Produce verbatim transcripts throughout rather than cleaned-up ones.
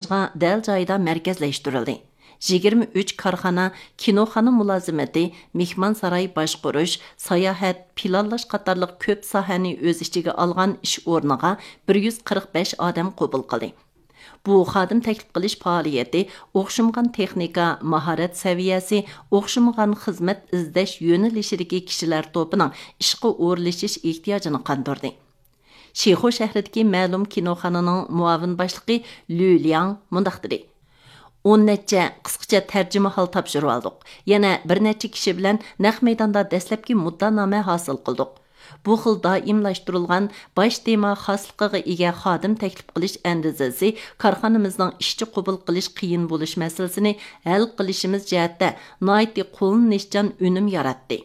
دەل جايىدا مەركەزلەشتۈرۈلدى. يىگىرمە ئۈچ كارخانا، كىنوخانا مۇلازىمىتى، مېھمانساراي باشقۇرۇش، ساياھەت، پىلانلاش قاتارلىق كۆپ ساھەنى ئۆز ئىچىگە ئالغان ئىش ئورنىغا بىر يۈز قىرىق بەش ئادەم قوبۇل قىلدى. بۇ خادىم تەكلىپ قىلىش پائالىيىتى ئوخشىمىغان تېخنىكا، ماھارەت سەۋىيەسى، ئوخشىمىغان خىزمەت ئىزدەش يۆنىلىشىدىكى كىشىلەر توپىنىڭ ئىشقا ئورۇنلىشىش ئېھتىياجىنى قاندۇردى. شىخۇ شەھىرىدىكى مەلۇم كىنوخانىنىڭ مۇئاۋىن باشلىقى لۈ لياڭ مۇنداق دېدى: «ئون نەچچە قىسقىچە تەرجىمىھال تاپشۇرۇۋالدۇق. يەنە بىر نەچچە كىشى بىلەن نەق مەيداندا دەسلەپكى مۇددىئانامە ھاسىل قىلدۇق. بۇ خىل دائىملاشتۇرۇلغان باش تېما خاسلىقىغا ئىگە خادىم تەكلىپ قىلىش ئەندىزىسى كارخانىمىزنىڭ ئىشچى قوبۇل قىلىش قىيىن بولۇش مەسىلىسىنى ھەل قىلىشىمىز جەھەتتە ناھايىتى قوللىنىشچان ئۈنۈم ياراتتى.»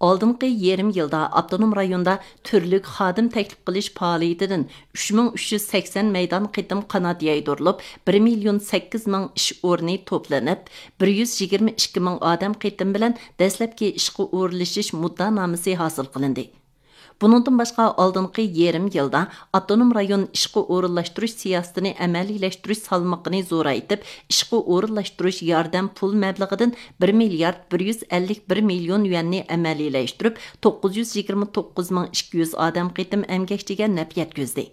ئالدىنقى يېرىم يىلدا ئاپتونوم رايوندا تۈرلۈك خادىم تەكلىپ قىلىش پائالىيىتىدىن ئۈچ مىڭ ئۈچ يۈز سەكسەن مەيدان قېتىم قانات يايدۇرۇلۇپ، بىر مىليون سەككىز مىڭ ئىش ئورنى توپلىنىپ، بىر يۈز يىگىرمە ئىككى مىڭ ئادەم قېتىم بىلەن دەسلەپكى ئىشقا ئورۇنلىشىش مۇددىئانامىسى ھاسىل قىلىندى. بۇنىڭدىن باشقا، ئالدىنقى يېرىم يىلدا ئاپتونوم رايون ئىشقا ئورۇنلاشتۇرۇش سىياسىتىنى ئەمەلىيلەشتۈرۈش سالمىقىنى زورايتىپ، ئىشقا ئورۇنلاشتۇرۇش ياردەم پۇل مەبلىغىدىن بىر مىليارد بىر يۈز ئەللىك بىر مىليون يۈەننى ئەمەلىيلەشتۈرۈپ، توققۇز يۈز يىگىرمە توققۇز مىڭ ئىككى يۈز ئادەم قېتىم ئەمگەكچىگە نەپ يەتكۈزدى.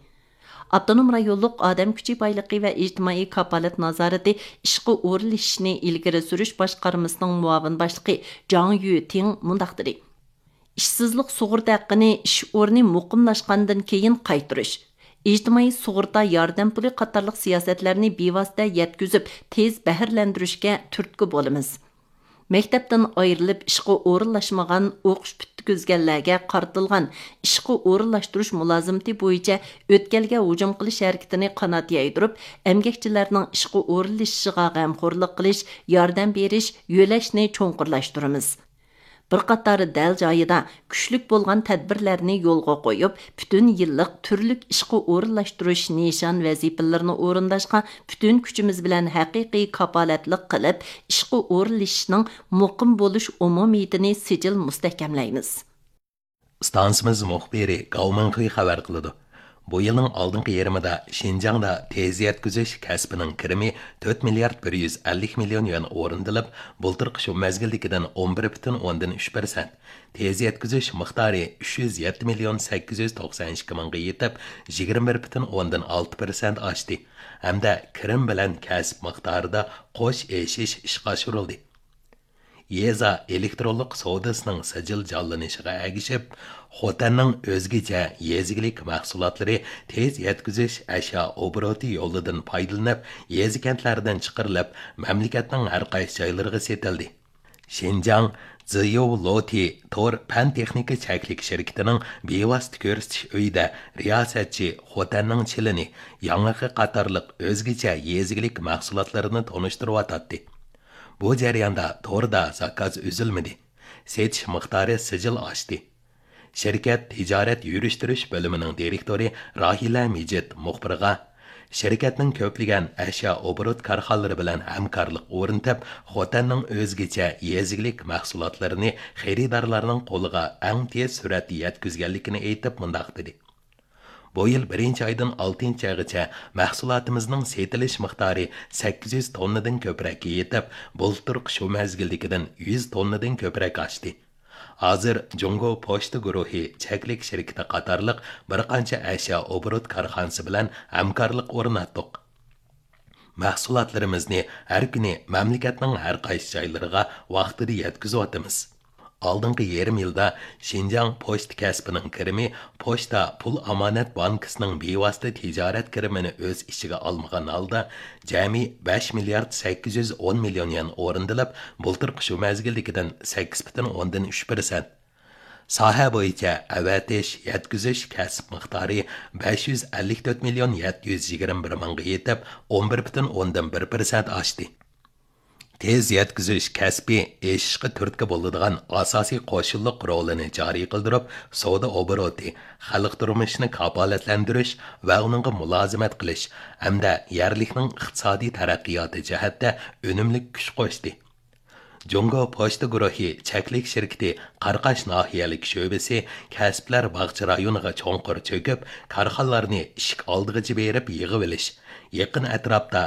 ئاپتونوم رايونلۇق ئادەم كۈچى بايلىقى ۋە ئىجتىمائىي كاپالەت نازارىتى ئىشقا ئورۇنلىشىشنى ئىلگىرى سۈرۈش باشقارمىسىنىڭ مۇئاۋىن باشلىقى جاڭ يۈتىڭ مۇنداق دېدى: «ئىشسىزلىق سۇغۇرتا ھەققىنى ئىش ئورنى مۇقىملاشقاندىن كېيىن قايتۇرۇش، ئىجتىمائىي سۇغۇرتا ياردەم پۇلى قاتارلىق سىياسەتلەرنى بىۋاسىتە يەتكۈزۈپ، تېز بەھرىلەندۈرۈشكە تۈرتكە بولىمىز. مەكتەپتىن ئايرىلىپ ئىشقا ئورۇنلاشمىغان، ئوقۇش پۈتكۈزگەنلەرگە قارىتىلغان ئىشقا ئورۇنلاشتۇرۇش مۇلازىمىتى بويىچە ئۆتكەلگە ھۇجۇم قىلىش ھەرىكىتىنى قانات يايدۇرۇپ، ئەمگەكچىلەرنىڭ ئىشقا ئورۇنلىشىشىغا غەمخورلۇق قىلىش، ياردەم بېرىش، يۆلەشنى چوڭقۇرلاشتۇرىمىز. بىر قاتار دەل جايىدا كۈچلۈك بولغان تەدبىرلەرنى يولغا قويۇپ، پۈتۈن يىللىق تۈرلۈك ئىشقا ئورۇنلاشتۇرۇش نىشان ۋەزىپىلىرىنى ئورۇنداشقا پۈتۈن كۈچىمىز بىلەن ھەقىقىي كاپالەتلىك قىلىپ، ئىشقا ئورۇنلىشىشنىڭ مۇقىم بولۇش ئومۇمىيىتىنى سىجىل مۇستەھكەملەيمىز.» ئىستانسىمىز مۇخبىرى گاۋ مىڭخې خەۋەر قىلىدۇ. بۇ يىلنىڭ ئالدىنقى يېرىمىدا شىنجاڭدا تېز يەتكۈزۈش كەسپىنىڭ كىرىمى تۆت مىليارد بىر يۈز ئەللىك مىليون يۈەن ئورۇندىلىپ، بۇلتۇرقى شۇ مەزگىلدىكىدىن ئون بىر پۈتۈن ئوندىن ئۈچ پىرسەنت، تېز يەتكۈزۈش مىقدارى ئۈچ يۈز يەتتە مىليون سەككىز يۈز توقسان ئىككى مىڭغا يېتىپ، يىگىرمە بىر پۈتۈن ئوندىن ئالتە پىرسەنت ئاشتى ھەمدە كىرىم بىلەن كەسىپ مىقدارىدا قوش ئېشىش ئىشقا ئاشۇرۇلدى. يېزا ئېلېكترونلۇق سودىسىنىڭ سىجىل جانلىنىشىغا ئەگىشىپ، خوتەننىڭ ئۆزگىچە يېزا ئىگىلىك مەھسۇلاتلىرى تېز يەتكۈزۈش ئەشيا ئوبوروتى يولىدىن پايدىلىنىپ، يېزا كەنتلەردىن چىقىرىلىپ، مەملىكەتنىڭ ھەر قايسى جايلىرىغا سېتىلدى. شىنجاڭ زىيۇ لوتى تور پەن تېخنىكا چەكلىك شىركىتىنىڭ بىۋاسىتە كۆرسىتىش ئۆيىدە رىياسەتچى خوتەننىڭ چىلىنى، ياڭىقى قاتارلىق ئۆزگىچە يېزا ئىگىلىك مەھسۇلاتلىرىنى تونۇشتۇرۇۋاتاتتى. بۇ جەرياندا توردا زاكاز ئۈزۈلمىدى. سېتىش مىقدارى سىجىل ئاشتى. شىركەت تىجارەت يۈرۈشتۈرۈش بۆلۈمىنىڭ دىرېكتورى راھىلە مىجىت مۇخبىرغا، شىركەتنىڭ كۆپلىگەن ئەشيا ئوبوروت كارخانىلىرى بىلەن ھەمكارلىق ئورنىتىپ، خوتەننىڭ ئۆزگىچە يېزا ئىگىلىك مەھسۇلاتلىرىنى خېرىدارلارنىڭ قولىغا ئەڭ تېز سۈرئەتتە يەتكۈزگەنلىكىنى ئېيتىپ، مۇنداق دېدى: بۇ يىل بىرىنچى ئايدىن ئالتىنچى ئايغىچە مەھسۇلاتىمىزنىڭ سېتىلىش مىقدارى سەككىز يۈز توننىدىن كۆپرەككە يېتىپ، بۇلتۇرقى شۇ مەزگىلدىكىدىن يۈز توننىدىن كۆپرەك ئاشتى. ھازىر جۇڭگو پوچتا گۇرۇھى چەكلىك شىركىتى قاتارلىق بىر قانچە ئەشيا ئوبوروت كارخانىسى بىلەن ھەمكارلىق ئورناتتۇق. مەھسۇلاتلىرىمىزنى ھەر كۈنى مەملىكەتنىڭ ھەر قايسى جايلىرىغا ۋاقتىدا يەتكۈزۈۋاتىمىز. ئالدىنقى يېرىم يىلدا شىنجاڭ پوچتا كەسپىنىڭ كىرىمى پوچتا پۇل ئامانەت بانكىسىنىڭ بىۋاسىتە تىجارەت كىرىمىنى ئۆز ئىچىگە ئالمىغان ھالدا جەمئىي بەش مىليارد سەككىز يۈز ئون مىليون يۈەن ئورۇندىلىپ، بۇلتۇرقى شۇ مەزگىلدىكىدىن سەككىز پۈتۈن ئوندىن ئۈچ پىرسەنت. ساھە بويىچە ئەۋەتىش، يەتكۈزۈش كەسىپ مىقدارى بەش يۈز ئەللىك تۆت مىليون يەتتە يۈز يىگىرمە بىر مىڭغا يېتىپ، ئون بىر پۈتۈن ئوندىن بىر پىرسەنت ئاشتى. تېز يەتكۈزۈش كەسپى ئېشىشقا تۈرتكە بولىدىغان ئاساسىي قوشۇنلۇق رولىنى جارى قىلدۇرۇپ، سودا ئوبوروتى، خەلق تۇرمۇشىنى كاپالەتلەندۈرۈش ۋە ئۇنىڭغا مۇلازىمەت قىلىش ھەمدە يەرلىكنىڭ ئىقتىسادىي تەرەققىياتى جەھەتتە ئۈنۈملۈك كۈچ قوشتى. جۇڭگو پوچتا گۇرۇھى چەكلىك شىركىتى قاراقاش ناھىيەلىك شۆبىسى كەسىپلەر باغچە رايونىغا چوڭقۇر چۆكۈپ، كارخانىلارنى ئىشىك ئالدىغىچە بېرىپ يىغىۋېلىش، يېقىن ئەتراپتا